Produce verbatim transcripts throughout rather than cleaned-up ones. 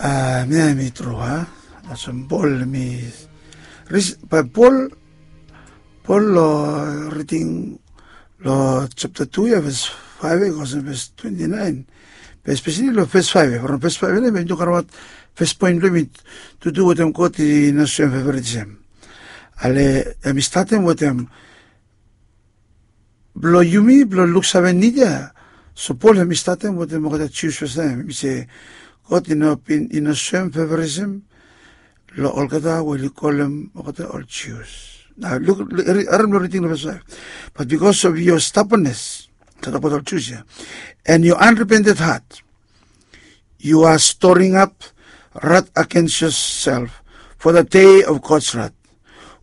Hemia hemi tru a, olsem Pol hemi, bae Pol, Pol long riding long japta tu ya, ves faef ya, go olsem ves twenti naen. Be espeseli long ves faef ya, from ves faef ya hemi tok abaot fes poen blong hemi tu tu wetem God i no soem favoritism. Ale hemi statem wetem blong yumi blong luksave nid ya. So Pol hemi statem wetem olgeta Jius fastaem, hemi se God i no bin, i no soem favoritism long olgeta we oli kolem olgeta ol Jius. Nao luk, harem long riding long ves faef. But because of your stubbornness, tokbaot ol Jius ya, and your unrepented heart, you are storing up wrath against yourself for the day of God's wrath,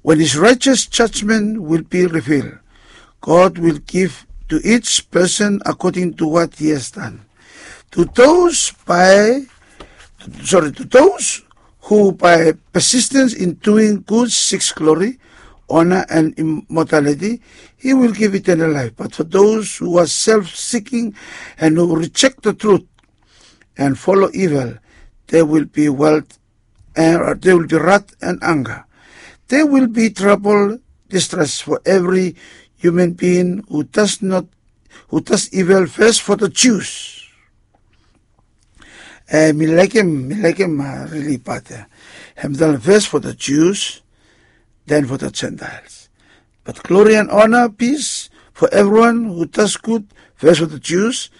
when his righteous judgment will be revealed. God will give to each person according to what he has done. To those by, sorry, to those who by persistence in doing good seeks glory, honor, and immortality, he will give eternal life. But for those who are self-seeking and who reject the truth and follow evil, there will be wealth and there will be wrath and anger. There will be trouble, distress for every human being who does not, who does evil, first for the Jews. Eh, mi laekem, mi laekem, ah, rili pat ya. Hem talem first for the Jews, then for the Gentiles. But glory and honor, peace for everyone who does good, first for the Jews,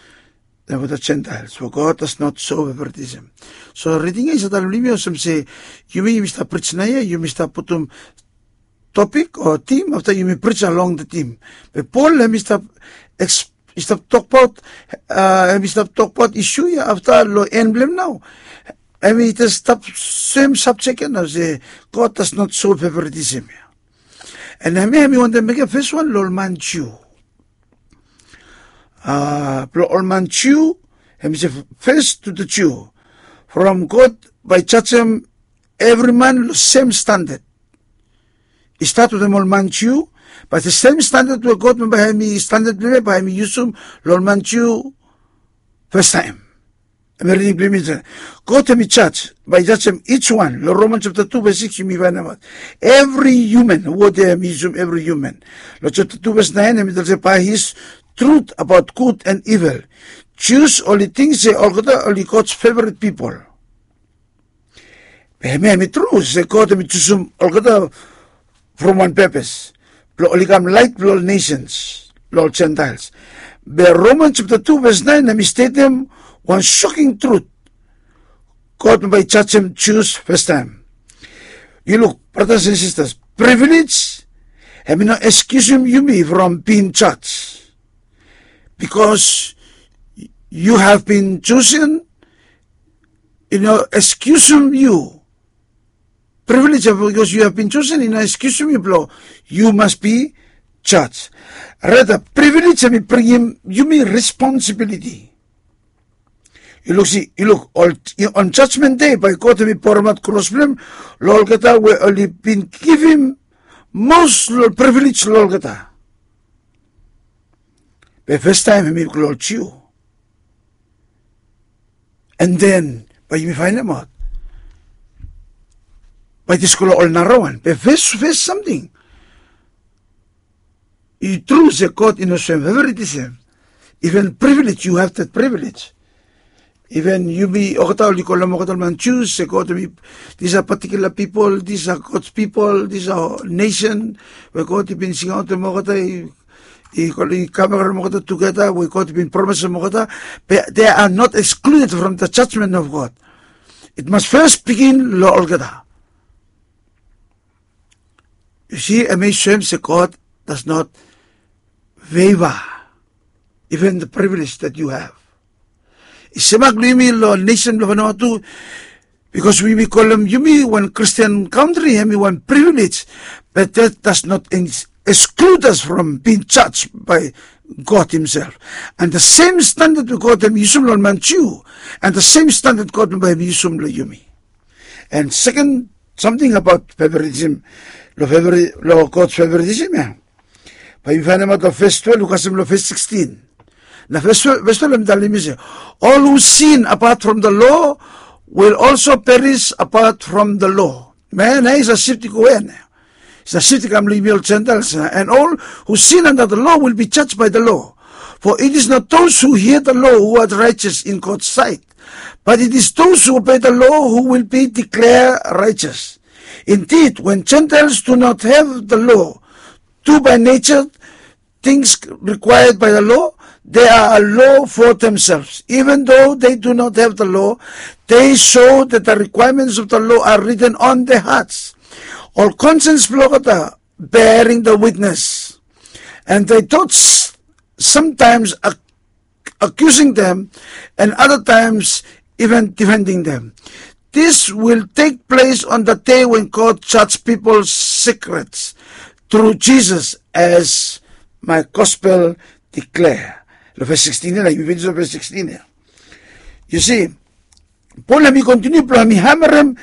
then for the Gentiles. For God does not show favoritism. So riding ya i save talem long yumi olsem se, yumi, yumi stap prij naoia, yumi stap putum topik o tim, afta yumi prij along the tim. Be Pol hemi stap eks-, i stap tokbaot, ah, hemi stap tokbaot isu ya, afta long en blong hem nao hemi jes stap sem subject ya nao se God does not show favoritism ya. And hemia hemi wantem mekem fes wan long ol man Jiu. Ah, blong ol man Jiu, hemi se first to the Jew. From God bae i jajem evri man long sem standard. I stat wetem ol man Jiu, bae the sem standard we God bae hemi standard blong hem ya bae hemi yusum long ol man Jiu fastaem. Hemi riding blong yumi se, God hemi jaj, bae i jajem each one. Long Roman japta tu ves sikis yumi faenemaot evri human, wod ya hemi yusum evri human. Long japta tu ves naen hemi talem se by his truth about good and evil, Jews oli ting se olgeta oli God's favorite people. Be hemia hemi tru se God hemi jusum olgeta from wan pepes blong oli kam laet blong ol nations, long ol Gentiles. Be Roman japta tu ves naen hemi stetem wan soking trut. God bae i jajem Jews fastaem. Yu luk, bratas and sisters, privilege hemi no ekskiusum yumi from bin jaj. Because you have been chosen, i no ekskiusum yu. Privilege ya because you have been chosen i no ekskiusum yu blong you must be judged. Rata, privilege hemi bringim yumi responsibility. Yu luk, si, yu luk, ol, on judgment day bae God hemi boremaot kros blong hem long olgeta we oli bin givim most long privilege long olgeta. Be fastaem hemi go long ol Jiu. And then bae yumi faenemaot bae i jes go long ol narawan. Be fes, fes samting, i tru se God i no soem favoritism. Even privilege, you have that privilege. Even yumi olgeta oli kolem olgeta ol man Jews se God hemi, these are particular people, these are God's people, these are nation we God i bin singaotem olgeta, i, i, i kam olgeta tugeta we God i bin promesem olgeta. But they are not excluded from the judgment of God. It must first begin long olgeta. Yu si, hemi soem se God does not favor even the privilege that you have. I semak long yumi long nesen blong Vanuatu, bikos yumi kolem yumi wan Christian kantri, hemi wan privilege, but that does not ex-, exclude us from being judged by God himself. And the same standard we God hemi yusum long ol man Jiu, and the same standard God bae hemi yusum long yumi. And second, something about favoritism, long favori-, long God's favoritism ya. Bae yu faenemaot long ves twelve, yu kasem long ves sixteen. Na ves twelve, ves twelve hemi talem yumi se, all who sin apart from the law will also perish apart from the law. Hemia nao i save shifting go ya nao. I save shifting i kam long yumi ol Gentiles nao. And all who sin under the law will be judged by the law. For it is not those who hear the law who are righteous in God's sight, but it is those who obey the law who will be declared righteous. Indeed, when Gentiles do not have the law, do by nature things required by the law, they are a law for themselves. Even though they do not have the law, they show that the requirements of the law are written on their hearts. Ol conscience blong olgeta bearing the witness. And their thoughts sometimes ac- accusing them, and other times even defending them. This will take place on the day when God judge people's secrets through Jesus, as my gospel declare. Long ves sixteen ya, yumi finis long ves sixteen ya. Yu si, Pol hemi kontiniu blong hemi hamarem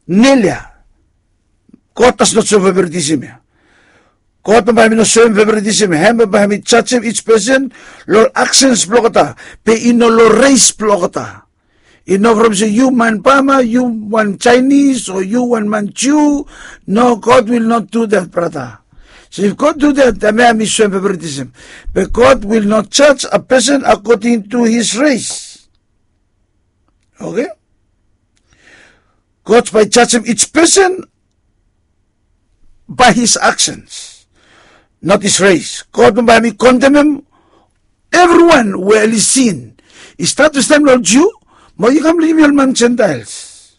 nel ya. God does not show favoritism ya. God bambae hemi no soem favoritism ya. Hem bambae hemi jajem each person long ol aksens blong olgeta, be i no long res blong olgeta. I no from se yu man Bama, yu wan Chinese, o yu wan man Jiu. No, God will not do that, brata. So if God do that, hemia hemi soem favoritism. But God will not judge a person according to his race. Okay? God bae jajem each person by his actions, not his race. God bambae hemi kondemem evriwan we oli sin. I stat fastaem long ol Jiu, mo i kam long yumi ol man Gentiles.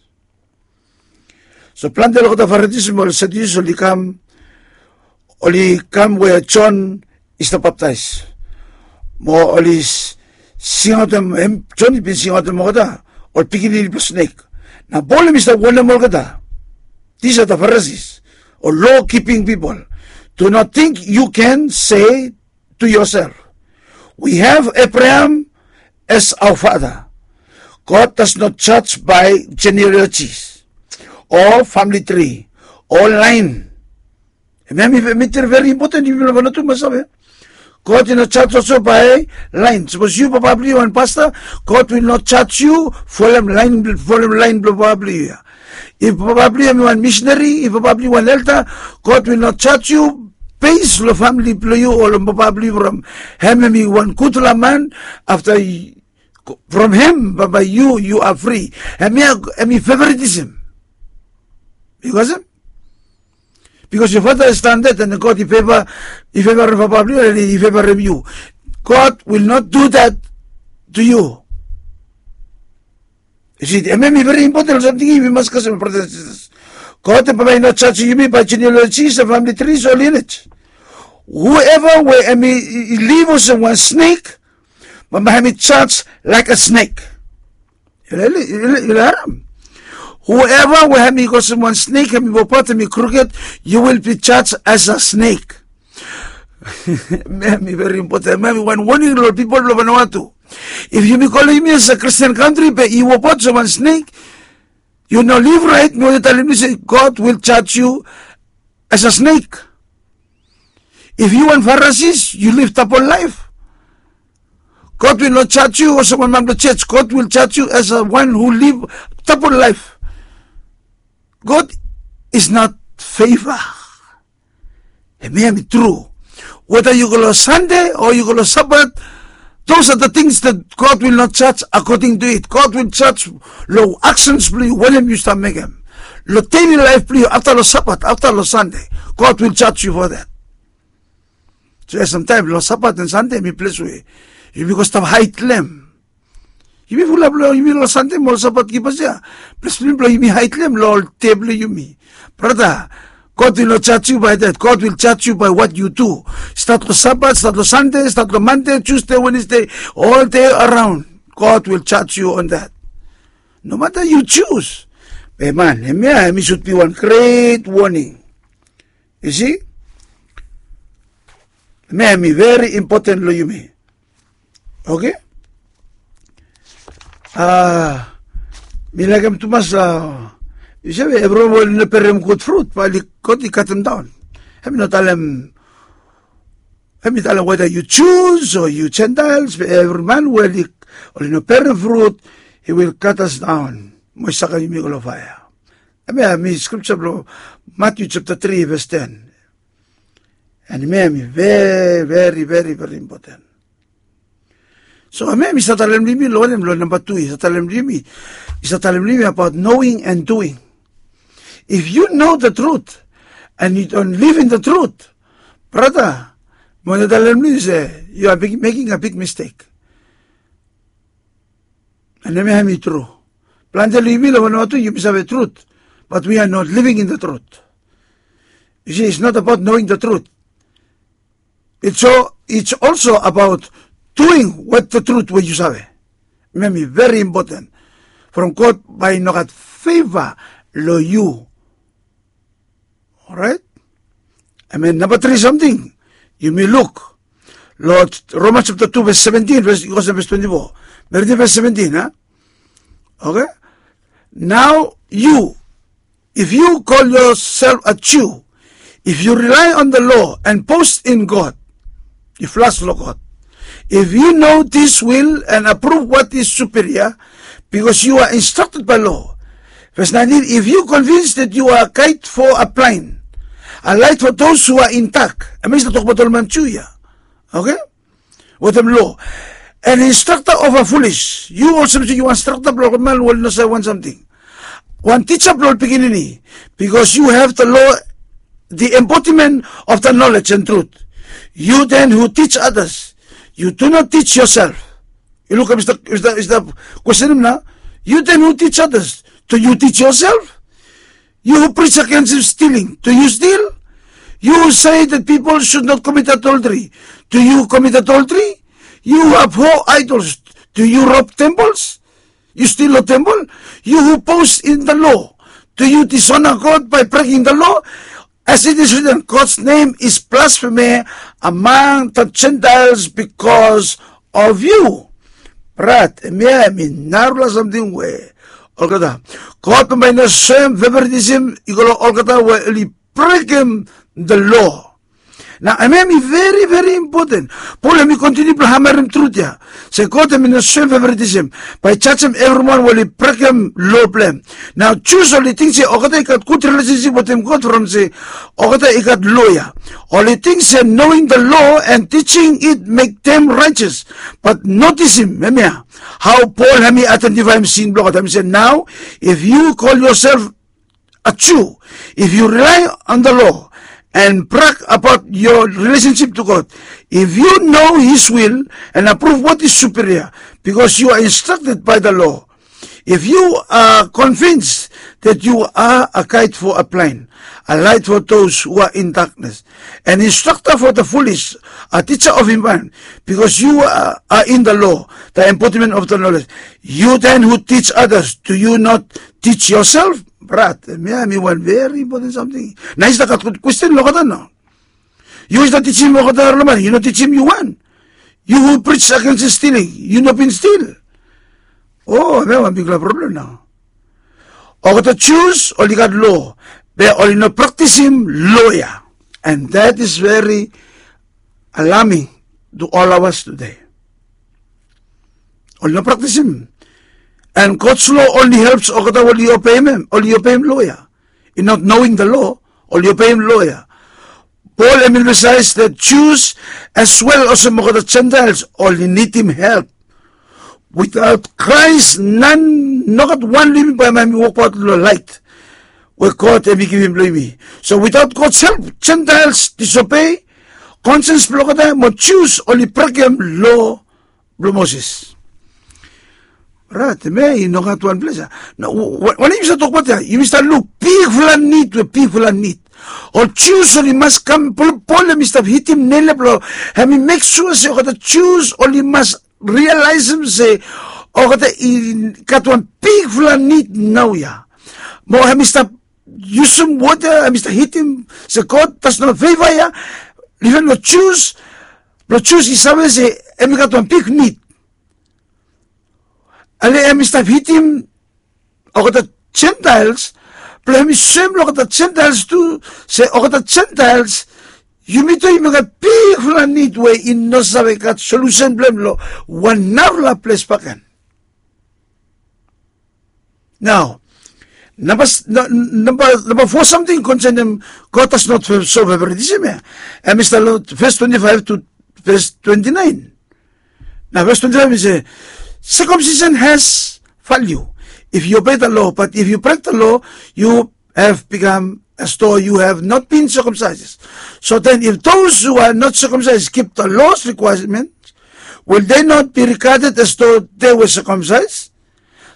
So plante long olgeta Farisi mo ol Sadiusi oli kam, oli kam we Jon i stap baptaes. Mo oli singaotem, hem Jon i bin singaotem olgeta ol pikinini blong snek. Nao Pol hemi stap wonem olgeta. These are the Pharisees, ol law keeping people. Do not think you can say to yourself, we have Abraham as our father. God does not judge by genealogies or family tree or line. Hemia hemi very important. Yumi long Vanuatu must save. God i no judge also by line. Sapos yu papa blong yu wan pasta, God will not judge yu folem laen blong papa blong yu ya. If papa blong yu hemi wan misinari, if papa blong yu wan elda, God will not judge yu base long famili blong yu o long papa blong yu from hem hemi wan gudfala man. Afta from hem bambae yu, yu are free. Hemia hemi favoritism. Yu kasem? Because your father is standard and God i feva, i fevarem papa blong yu, i fevarem yu. God will not do that to you. Yu si, hemia hemi very important long samting ya we mas kasem, brata and sistas. God bambae i no jajem yumi by genealogies and family trees o lineage. Whoever we hemi liv olsem wan snek, bambae hemi judge like a snake. Yu la, yu la, yu la harem. Whoever we hemi go olsem wan snek, hemi wokabaot, hemi crooked, you will be judged as a snake. Hemia hemi very important. Hemia hemi wan warning long ol pipol blong Vanuatu. If yumi kolem yumi as a Christian country be i wokabaot olsem wan snek, yu no liv raet, mi wantem talem yu se God will judge you as a snake. If yu wan Pharisees, yu liv double life, God will not judge you olsem wan man blong church. God will judge you as a one who live double life. God is not favor. Hemia hemi tru. Whether yu go long Sande o yu go long Sabat, those are the things that God will not judge according to it. God will judge long actions blong yu, wanem yu stap mekem. Long daily life blong yu, afta long Sabat, afta long Sande, God will judge you for that. So ya, samtaem long Sabat and Sande hemi ples we yumi go stap haedlem. Yumi fulap long yumi long Sande mo ol Sabat kipers ya. Ples blong yumi haedlem long ol dei blong yumi. Brata, God will not judge you by that. God will judge you by what you do. Stat long Sabat, stat long Sande, stat long Mande, Tusde, Wenesde, ol dei araon. God will judge you on that. No matter yu jus. Be man, hemia hemi should be wan great warning. Yu si? Hemia hemi very important long yumi. Okay? A, mi laekem tumas, a, yu save, evriwan we oli no berem gud frut bae God i katemdaon. Hemi no talem, hemi talem whether yu Jus o yu Gentiles, be evri man we oli no berem frut, he will cut us down. mo i sakem yumi i go long faea. Hemia hemi skripsa blong Matiu japta tri ves ten. And hemia hemi veri veri veri veri impoten. So hemia hemi save talem long yumi long wanem, long namba tu i save talem long yumi, i save talem long yumi abaot knowing and doing. If you know the truth and you don't live in the truth, brata, mi wantem talem long yu se you are big- making a big mistake. And hemia hemi tru. Plante long yumi long wanem tu yumi save truth, but we are not living in the truth. You see, it's not about knowing the truth. It's, so, it's also about doing what the truth we yu save. Hemi veri impoten. From God bae i no gat feva long yu. Orait. Hemia namba tri samting yumi luk long Romans japta tu ves seventin, ves i go olsem ves twenti fo. Mi ridim ves seventin a. Oke. Nao yu, if you call yourself a Jew, if you rely on the law and boast in God, yu flas long God. If you know this will and approve what is superior, because you are instructed by law. Ves naentin, if you convince that you are a guide for a blind, a light for those who are in dark. Hemia i stap tokbaot ol man Ju ya. Oke. Wetem lo, an instructor of a foolish. Yu olsem se yu wan instructor blong ol man we oli no save wan samting. Wan tija blong ol pikinini. Because you have the law, the embodiment of the knowledge and truth. You then who teach others, you do not teach yourself. Yu lukim, i stap, i stap, i stap kwestenem nao. You then who teach others, do you teach yourself? You who preach against stealing, do you steal? You who say that people should not commit adultery, do you commit adultery? You who abhor idols, do you rob temples? Yu stil long tempel? You who boast in the law, do you dishonor God by breaking the law? As it is written, God's name is blasphemed among the Gentiles because of you. Brat, hemia hemi narafala samting we olgeta, God bambae i no soem favoritism i go long olgeta we oli brekem the law. Nao hemia hemi veri veri impoten. Pol hemi kontiniu blong hamarem trut ya se God hemi no soem favoritism bae i jajem evriwan we oli brekem lo blong hem. Nao Jus oli ting se olgeta i gat gud rilesensip wetem God from se olgeta i gat lo ya. Oli ting se knowing the law and teaching it make them righteous. But notisim hemia, hao Pol hemi aidentifaem sin blong olgeta, hemi se, nao if you call yourself a Jew, if you rely on the law and brag about your relationship to God, if you know His will and approve what is superior, because you are instructed by the law, if you are convinced that you are a guide for a blind, a light for those who are in darkness, an instructor for the foolish, a teacher of environment, because you are, are in the law, the embodiment of the knowledge. You then who teach others, do you not teach yourself? Brat, hemia hemi wan veri impoten samting. Nao i stap gat gud kwesten long olgeta nao. Yu i stap tijim olgeta, ol man, yu no tijim yu wan. You who preach against stealing, yu no bin stil. O, hemia wan bigfala problem nao. Olgeta Jus oli gat lo, be oli no praktisim lo ya. And that is very alarming to all of us today. Oli no praktisim. And God's law only helps olgeta we oli obeim hem, oli obeim lo ya. In not knowing the law, oli obeim lo ya. Pol hemi emphasize that Jus as well olsem olgeta Gentiles oli nidim help. Without Christ, none, nogat wan long yumi bae hemi wokbaot long laet we God hemi givim long yumi. So without God's help, Gentiles disobey, conscience blong olgeta, mo Jus oli brekem lo blong Moses. Brat, hemia i nogat wan ples ya. Nao wanem yumi stap tokbaot ya? Yumi stap luk bigfala nid we bigfala nid. Ol Jus oli mas kam, Pol, Pol hemi stap hitim nel ya blong hemi mek sua se olgeta Jus oli mas rialaesem se olgeta i gat wan bigfala nid naoia. Mo hemi stap yusum wota, hemi stap hitim se God does not favor ya. Iven long Jus, blong Jus i save se hemi gat wan big nid. Ale hemi stap hitim olgeta Gentiles blong hemi soem long olgeta Gentiles tu se olgeta Gentiles, yumi tu yumi gat bigfala nid we i no save gat solusen blong hem long wan narafala ples bakegen. Nao, namba fo samting konsenem God does not show favoritism ya, em i stap long ves twenti faef tu ves twenti naen. Nao ves twenti faef i se, circumcision has value if you obey the law, but if you break the law, you have become as though you have not been circumcised. So then, if those who are not circumcised keep the law's requirements, will they not be regarded as though they were circumcised?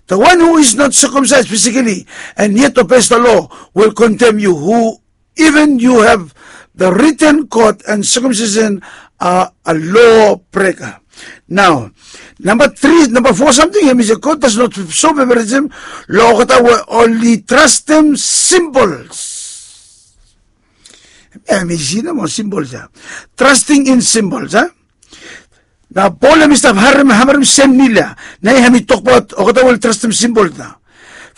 The one who is not circumcised physically and yet obeys the law will condemn you, who even you have the written court and circumcision are a law breaker. Nao, namba tri, namba fo samting em i se God does not show favoritism long olgeta we oli trastem symbols. Em i si nomo symbols ya. Trusting in symbols a. Nao Pol em i stap harim, hamarem sem nil ya. Nao hem i tokbaot olgeta we oli trastem symbols nao.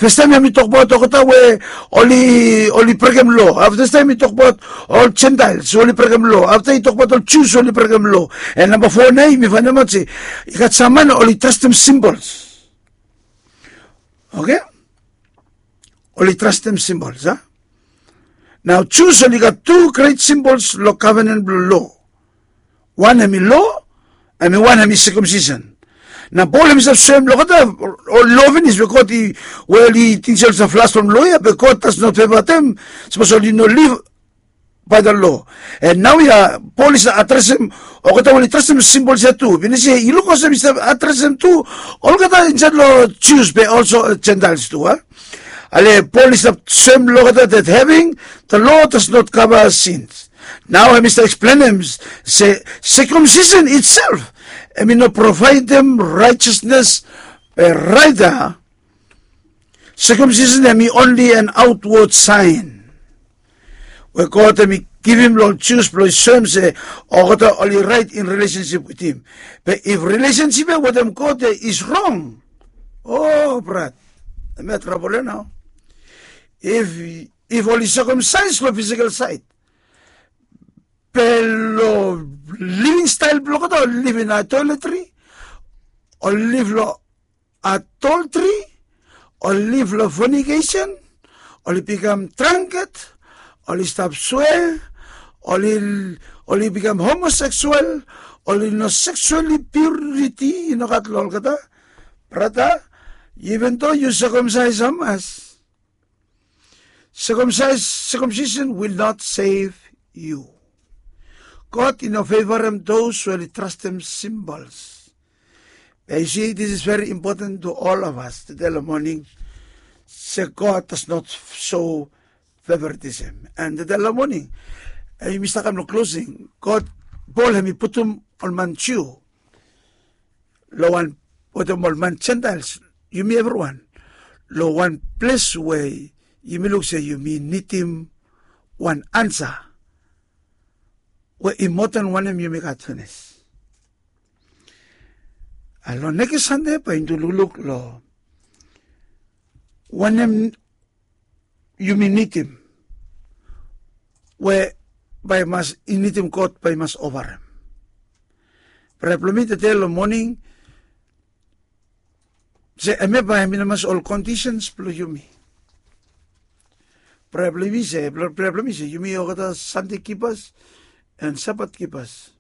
Fastaem hem i tokbaot olgeta we oli, oli brekem lo. Afta fastaem i tokbaot ol Gentiles we oli brekem lo. Afta i tokbaot ol Jus we oli brekem lo. Em namba fo nao yumi faenemaot se i gat sam man oli trastem symbols. Oke? Oli trastem symbols a. Nao Jus oli gat tu gret symbols long covenant blong lo. Wan hem i lo, hem i wan hem i circumcision. Nao Pol hem i stap soem long olgeta ol lo finis we God i, we oli ting se oli stap flas from lo ya, be God does not favor them. Sapos oli no live by the law. And nao ya Pol i stap adresem olgeta we oli trastem symbols ya tu. Finis ya i luk olsem i stap adresem tu olgeta insaed long Jus be also Gentiles tu a. Ale Pol i stap soem long olgeta that having the law does not cover sins. Nao hem i stap eksplenem se circumcision itself hem i no provaedem righteousness, be rata circumcision hem i only an outward sign we God hem i givim long ol Jus blong i soem se olgeta oli raet in relationship with him. Be if relationship ya wetem God ya is wrong, o brat, hem ya trabol ya nao. If, if oli circumcise long physical side, be long living style blong olgeta oli live in idolatry, oli live long adultery, oli live long fornication, oli bikam drunkard, oli stap swea, oli, oli bikam homosexual, oli no sexually purity i no gat long olgeta. Brata, even though yu circumcise hamas, circumcise, circumcision will not save you. God i no fevarem those we oli trastem symbols. Be yu si, this is very important to all of us tede long moning, se God does not show favoritism. And tede long moning, yumi stap kam long closing, God, Pol hem i putum ol man Jiu long wan, wetem ol man Gentiles, yumi evriwan, long wan ples we yumi luk se yumi nidim wan ansa we i moa dan wanem yumi gat finis. Long nekis Sande bae yumi lukluk long wanem yumi nidim we bae i mas, i nidim God bae i mas ovarem. Praea blong mi tede long moning se hemia bae hemi no mas ol conditions blong yumi. Praea blong mi se, praea blong mi se yumi olgeta Sande kipas and Sabat kipas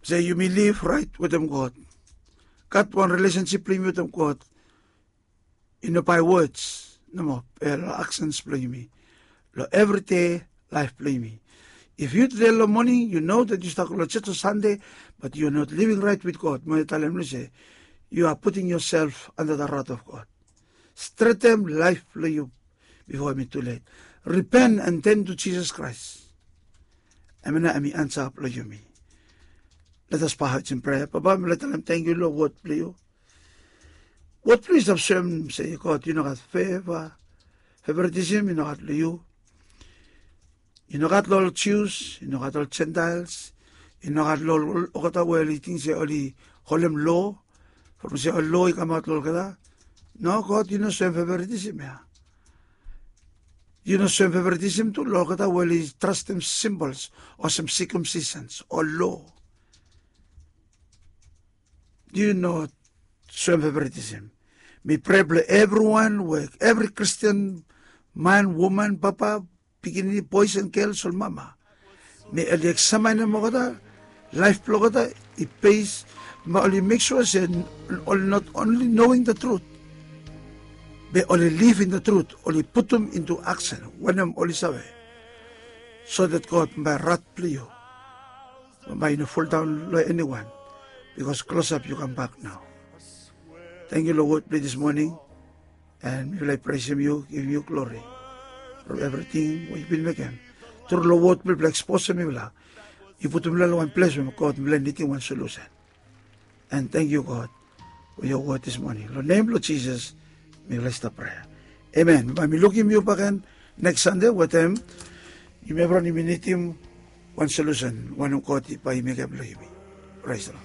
se yumi liv raet wetem God. Gat wan relationship blong yumi wetem God. I no by words nomo, be long actions blong yumi, long everyday laef blong yumi. If yu tede long moning yu know that yu stap go long jos long Sande, but yu are not living right with God, mo yu talem olsem yu are putting yourself under the wrath of God. Stretem laef blong yu bifo hemi tulet. Repent and turn to Jesus Christ. Hemia nao hemi ansa blong yumi. Let us bow our heads in prayer. Papa, mi laik talem tangkiu long wod blong yu. Wod blong yu i stap soem se God, yu no gat feva, favoritism i no gat long yu. I no gat long ol Jius, i no gat long ol Gentiles, i no gat long ol olgeta we oli ting se oli holem lo, from se ol lo i kamaot long olgeta. No, God, yu no soem favoritism ya. Yu no soem favoritism tu long olgeta we oli trastem symbols olsem circumcisions o lo. Yu no soem feveritism. Mi prea blong evriwan we evri Kristin, man, woman, papa, pikinini, bois an gels, ol mama, me oli eksaminim olgeta laef blong olgeta i bes, ma oli mek sua se oli not onli noing the truth, be oli living the truth, oli putum into aksen wanem oli save, so that God, bae rat blong yu bae i no foldaon long eniwan, bikos klosap yu kambak nao. Tangkiu long wod blong yu dis moning. An mifala i presim yu, givim yu glori from evriting we yu bin mekem. Tru long wod blong yufala eksposem mifala, yu putum mifala long wan ples we God, mifala i nidim wan solusen. An tangkiu God, we yu wod dis moning, long nem blong Jisas mifala i stap prea. Amen. Bae mi lukim yu bakegen neks Sande wetem yumi evriwan yumi nidim wan solusen wanem God bae i mekem long yumi. Praise the Lord.